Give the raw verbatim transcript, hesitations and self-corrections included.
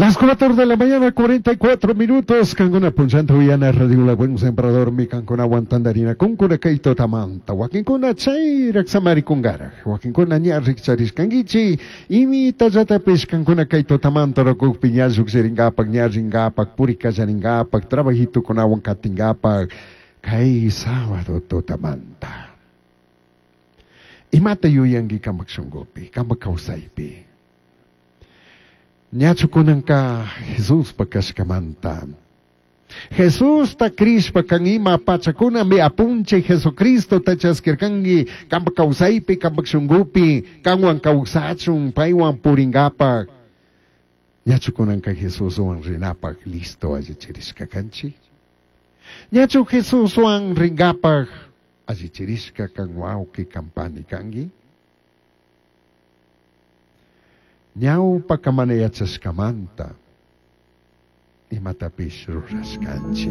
Las cuatro de la mañana, cuarenta y cuatro minutos. Cancuna punchanta uyana Radio La Buen Sembrador, mi cancuna tantarina, kunkuna kay tutamanta. Wakinkuna chairak samaricungaraj. Wakinkuna ña rikcharishkanguichi. Imitallatapish cancuna kay tutamanta rukukpi ña llujshiringapak, ña ringapak, purikallaringapak, trabajitukunawan katingapak. Kay sábado tutamanta. Imata yuyanki kampak shunkupi, kampak kawsaypi? Ñachu kunanka Jesuspa kashkamanta? Jesusta crishpa kan ima pachakunami apunchik Jesucristo chaskirkanki kampak kawsaypi, kampak shunkupi, kanwan kawsachun, paywan puringapak. Ñachu kunanka Jesuswan rinapak listo allichirishka kanchik? Ñachu Jesuswan ringapak allichirishka kan wawqi kan pani kanki? Ñawpaka mana yachashkamanta imatapish rurashkanchik.